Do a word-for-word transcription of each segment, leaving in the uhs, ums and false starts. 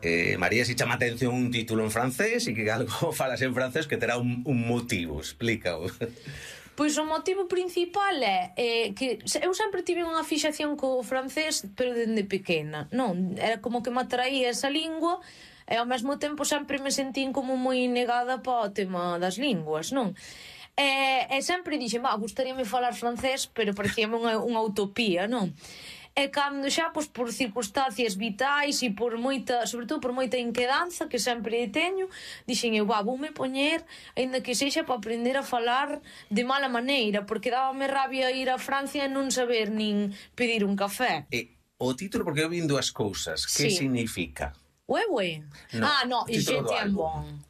Eh, María, si chama atención un título en francés e que algo falas en francés que terá un, un motivo, explícao. Pois o motivo principal é eh, que eu sempre tive unha fixación co francés, pero dende pequena, non? Era como que me atraía esa lingua e ao mesmo tempo sempre me sentín como moi negada para o tema das linguas, non? E, e sempre dixen, va, gustaríame falar francés, pero parecíame unha, unha utopía, non? E cando xa, pois, por circunstancias vitais e por moita, sobre todo por moita inquedanza que sempre teño, dixen eu, va, voume poñer, ainda que sexa para aprender a falar de mala maneira, porque dábame rabia ir a Francia e non saber nin pedir un café. E o título, porque eu vin dúas cousas, que Sí. significa? Ué, ué. No, ah, no, o título je do t'aime álbum. bon.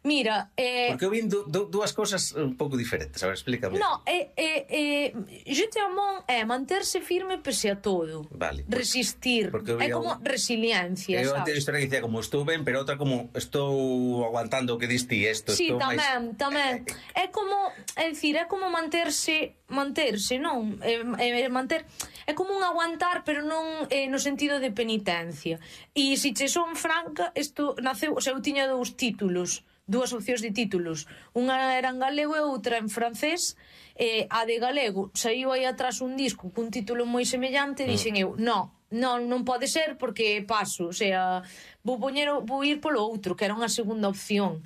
Mira, eh... Porque eu vin du, du, dúas cousas un pouco diferentes, a ver, explícame. No, é, é, é, je t'aime bon é manterse firme pese a todo. Vale. Resistir. É como un... resiliencia, eu sabes? Eu historia que dicía como estou ben, pero outra como estou aguantando o que diste isto. Sí, estou tamén, máis... tamén. É como, é dicir, é como manterse, manterse, non? É, é, manter, é como un aguantar, pero non é, no sentido de penitencia. E se che son franca, isto naceu, o sea, eu tiña dous títulos, dúas opcións de títulos, unha era en galego e outra en francés. Eh, a de galego saiu aí atrás un disco cun título moi semellante e dixen eu, no, non, non pode ser porque paso, o sea, vou poñer, vou ir polo outro, que era unha segunda opción.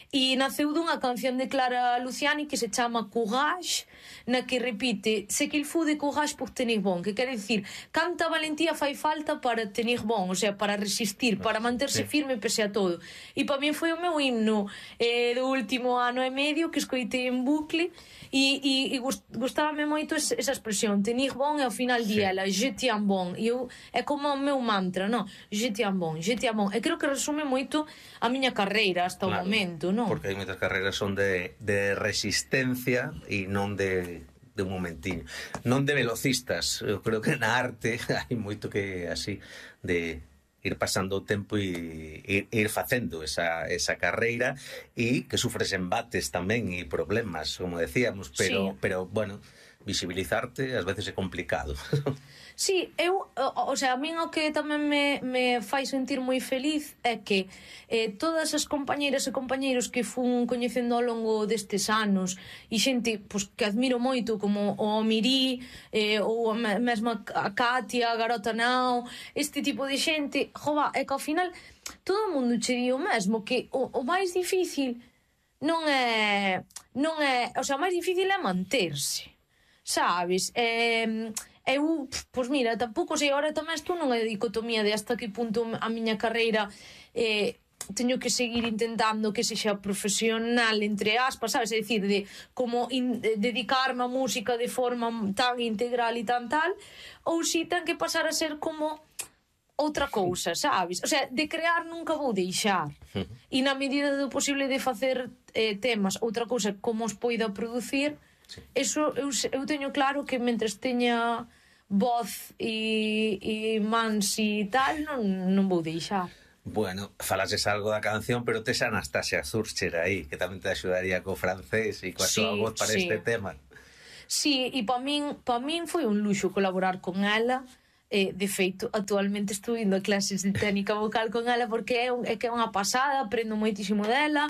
E naceu dunha canción de Clara Luciani que se chama Courage, na que repite "C'est qu'il faut de courage pour tenir bon", que quere dicir canta valentía fai falta para tenir bon, o sea, para resistir, para manterse firme pese a todo. E para mí foi o meu himno eh, do último ano e medio que escoitei en bucle e, e, e gustábame moito esa expresión, tenir bon, e ao final di ela je t'aime bon, e eu, é como o meu mantra, non? Je t'aime bon, je t'aime bon, e creo que resume moito a miña carreira hasta claro, o momento, non? Porque hai moitas carreiras son de, de resistencia e non de, de un momentiño. Non de velocistas. Eu creo que na arte hai moito que así de ir pasando o tempo e ir, ir facendo esa, esa carreira e que sufres embates tamén e problemas, como decíamos, pero, sí. pero bueno, visibilizarte ás veces é complicado. Sí, eu, o, o sea, a min o que tamén me, me fai sentir moi feliz é que eh, todas as compañeiras e compañeiros que fun coñecendo ao longo destes anos e xente pues, que admiro moito como o Mirí eh, ou a mesma a Katia, a Garota Nao, este tipo de xente, jova, é que ao final todo o mundo che di o mesmo, que o, o máis difícil non é non é, o sea, o máis difícil é manterse, sabes? Eh, eu, pois mira, tampouco sei, agora tamén estou nunha dicotomía de hasta que punto a miña carreira eh, teño que seguir intentando que sexa profesional, entre aspas, sabes? É dicir, de como in, de, dedicarme a música de forma tan integral e tan tal, ou si ten que pasar a ser como outra cousa, sabes? O sea, de crear nunca vou deixar. E na medida do posible de facer eh, temas, outra cousa, como os poida producir, sí. Eso eu, eu teño claro que mentres teña voz e, e mans e tal, non, non vou deixar. Bueno, falases algo da canción, pero tes a Anastasia Zurcher aí, que tamén te axudaría co francés e coa sí, súa voz para sí. este tema. Sí, e para min, pa min foi un luxo colaborar con ela. Eh, de feito, actualmente estou indo a clases de técnica vocal con ela porque é, un, é que é unha pasada, aprendo moitísimo dela.